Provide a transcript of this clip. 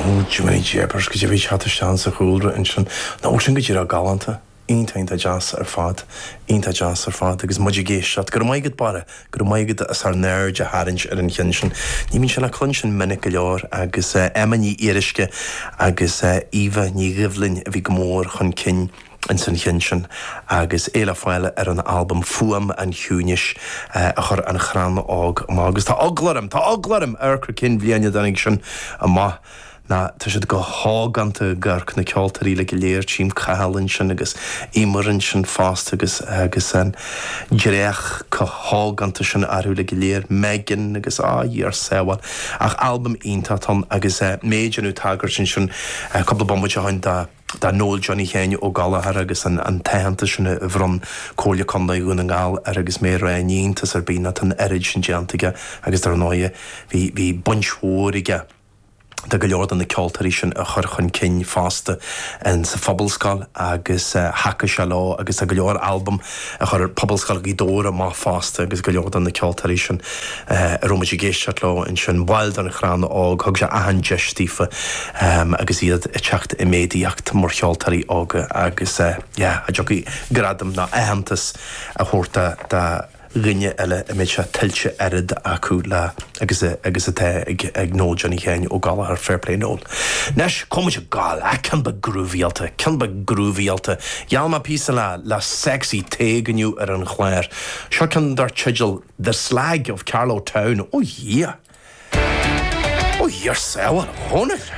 Ó, Jiminy Jeepers, goidé a bhí ag teacht isteach sa chúlra ansin. Nó sin go díreach galánta. Iontach, iontach deas ar fad. Iontach deas ar fad. Agus muid ag éisteacht. Go raibh maith agat, Barra. Go raibh maith agat as ár n-aird a tharraingt ar an cheann sin. Ní bhíonn sé le cluinstin minic go leor agus Emma Ní Fhíoruisce agus Eva Ní Dhoibhlin a bhí go mór chun cinn ins an cheann sin agus é le fáil ar an albam Fuaim an Chiúnais a chuir An Chrann Óg amach. Agus tá eagla orm, tá eagla orm amharc ar cén bhliain a dtáinig sin amach ná tá siad go hógánta ag amharc, na ceoltóirí uilig go léir, tchím Cathal ansin agus Eimear ansin fosta agus agus an dreach chomh hógánta sin orthu uilig go léir, Megan agus á, Dhia ár sábháil. Ach albam iontach atá ann agus mé ag déanamh tagairt ansin cúpla bomaite ó shin do do Noel Johnny Sheáin Ó Gallchóir agus an an t-aitheantas sin a bhronn Comhairle Contae Dhún na nGall air agus mé ag rá ní iontas ar bith ná tá an oiread sin déanta aige agus dar ndóighe bhí bhí baint mhór aige do go leor de na ceoltóirí sin a chur chun cinn fosta in sa Phobalscoil agus thacaigh sé leo agus tá go leor albam a chuir Pobalscoil Ghaoth Dobhair amach fosta agus go leor de na ceoltóirí sin a raibh muid ag éisteacht leo ansin, baill den Chrann Óg, thug sé achan deis daofa agus iad ag teacht i méadaíocht mar cheoltóirí óga agus yeah, cha dtiocfaidh gradam ná aitheantas a thabhairt do dhuine eile a mbeidh sé tuillte oiread acu le agus agus atá ag ag Noel Johnny Sheáin Ó Gallchóir, fair play Noel. Anois, cá bhfuil muid ag gabháil, ah ceann beag grúvaíálta, ceann beag grúvaíálta. Gheall mé píosa le le Sexy Tadhg inniu ar an chlár. Seo ceann dar teideal The Slag of Carlow Town. Ó Dhia! Ó Dhia ár sábháil, a Dhónaill!